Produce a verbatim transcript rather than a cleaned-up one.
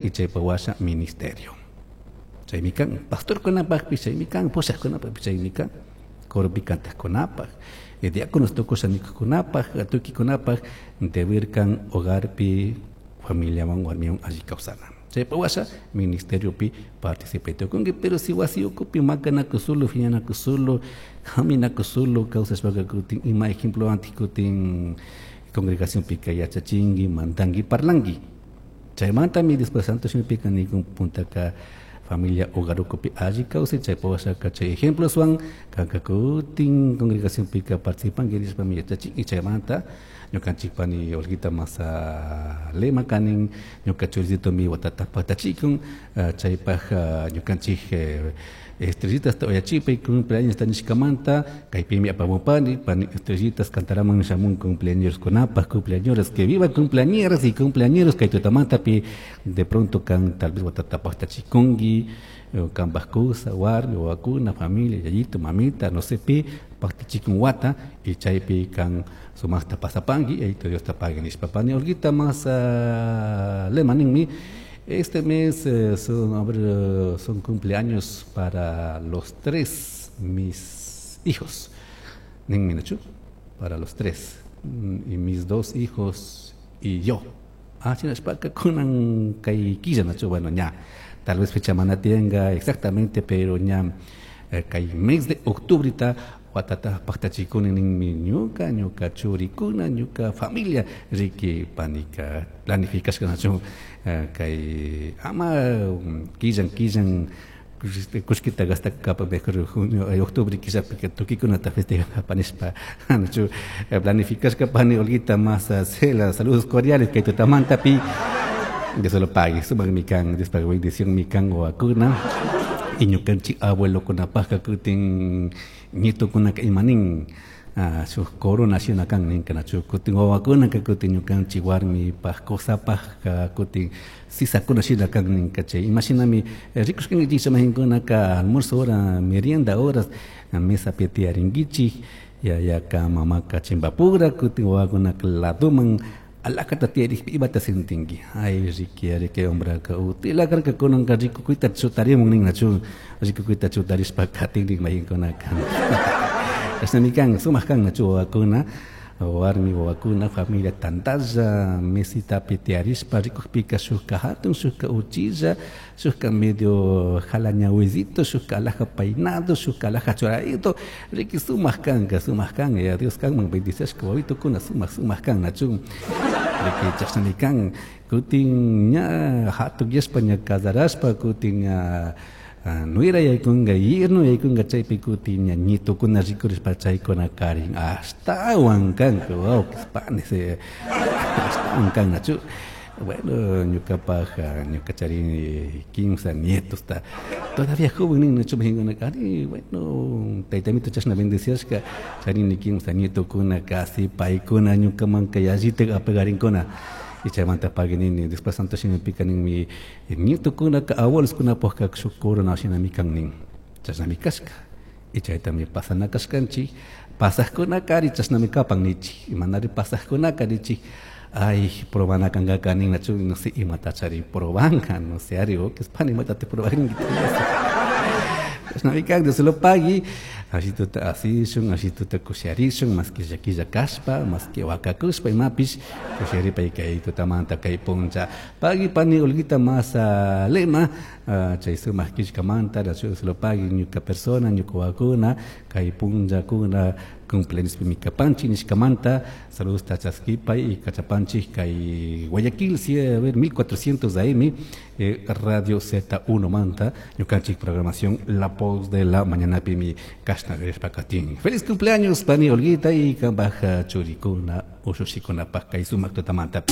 Y chaypa washa ministerio. Chaymi kan pastorkunapaqpis, chaymi kan pushaqkunapaqpis, chaymi kan coropi cantaqkunapaq, diáconos tukusha nikuqkunapaq, tukikunapaq deber kan hogarpi familiawan warmiwan alli kawsana. Chaypa washa ministeriopi participay tukunki, pero si wasi ukupi makanakusulu, phiñanakusulu, haminakusulu kawsashpaka kutin ima ejemplo anti kutin congregacionpika yachachinki, mandanki, parlanki. Chaymantami después santo shimipika nikun puntaka familia hogar ukupi alli kawsay, chaypa washaka chay ejemploswan kanka kutin congregacionpika participanki nishpami yachachin. Y chaymanta ñukanchik pani Olguita masa lema kanin ñuka churisitomi watata paktachikun, chaypaj ñukanchik estrellitas uyachipay cumpleaños nishkamanta kaypimi apamupani pani estrellitas cantaraman shamun cumpleañoskunapaj, cumpleañeros, que viva cumpleañeras y cumpleañeros kay tutamantapi. De pronto kan tal vez watata paktachikunki, kanpaj kusa, warmi, wawakuna, familia, yayito, mamita, no sé pi paktachikun wata y chaypi kan sumaqta pasapanki, yayito Dios ta pagui nishpa. Pani Olguita masa lema ninmi: este mes eh, son, a ver, son cumpleaños para los tres mis hijos. Ninmi, nachu, para los tres y mis dos hijos y yo. Ah, shinashpaka kunan kay killa, nachu? Bueno, ña tal vez fecha mana tiyanka exactamente, pero ña eh, kay mes de octubrita watata paktachikuni ninmi ñuka, ñuka churikuna, ñuka familia. Riki panika planificashka, nachu? Kay ama killan killan kullkita gastakapa, mejor junio, octubre killapika tukuykunata festejanapa nishpa, nachu? Planificashka pani Olguita masa Cela. Saludos cordiales kay tutamantapi. Dios lo pague, sumakmi kan, Diospaj bendición mi kan wawakuna y ñukanchik abuelokunapajka kutin nietokunaka imanin shuk corona shina kan ninka, nachu? Kutin wawakunaka kutin ñukanchik warmipaj kusapajka kutin sisakuna shina kan ninka. Chay imashinami rikushkankichik chamahinkunaka almuerzo hora, merienda horas, mesapi tiyarinkichik, yayaka mamaka chimpapura, kutin wawakunaka ladoman alakata tiyarikpi imata sentinki? Ay, riki ari kay hombraka utila karka, kunanka rikukuyta chutarimun nin, nachu? Rikukuyta chutarishpa katin mayinkunaka. Chashnami kan, sumak kan, nachu? Wawakuna, warmi wawakuna, familia tantalla mesitapi tiyarishpa rikukpika shukka hatun, shukka uchilla, shukka medio jalañahuizito, shukka alhaja peinado, shukka alhaja churarito, riki sumak kanka, sumak kan. Ya Dios kanman bendiciashka wawitukuna sumak sumak kan, nachu? Riki chashnami kan. Kutin ña hatunyashpa, ña casarashpa, kutin ña nuera yaykunga, yerno yaykunga, chaypi kutin ña ñitukuna rikurishpa chaykuna karin ashtawan kanka, wawkis panis, ashtawan kan, nachu? Bueno, ñukapaj ñuka charini kimsa nietosta, todavía joven nin, nachu? Mahinkunaka ari, bueno, taytamito chashna bendiciashka, charini kimsa nietokuna, casi paykuna ñukamanka yallitak apegarinkuna. Y chaymanta pagui nini, después santo shimipika ninmi nietokunaka abueloskunapajka shuk corona shinami kan nin. Chashnami kashka y chaytami pasana kashkanchik. Pasajkunaka ari chashnami kapan nichik, manari pasajkunaka nichik, ay, probana kankaka nin, nachu? No sé imatachari probanka, no sé ari pani imatata probarinki. Chashnami kan. Dios lo pagui. Ashituta asishun, ashituta kusharishun, maski llakilla kashpa, maski wakakushpa imapish kusharipay kay tutamanta kay puncha. Pagui pani Olguita masa lema chay sumak killkamanta. Dios lo pagui. Ñuka persona, ñuka wawakuna kay punllakuna cumpleañospimi kapanchik nishkamanta saludos chaskipay y kachapanchik kay Guayaquil, sí, a ver, mil cuatrocientos A M, eh, Radio Z uno manta, ñukanchik programación La Voz de la Mañana pimi kashna rishpa katin. Feliz cumpleaños, pani Olguita, y kanpaj churikuna ushushikunapaj kay sumak tutamanta.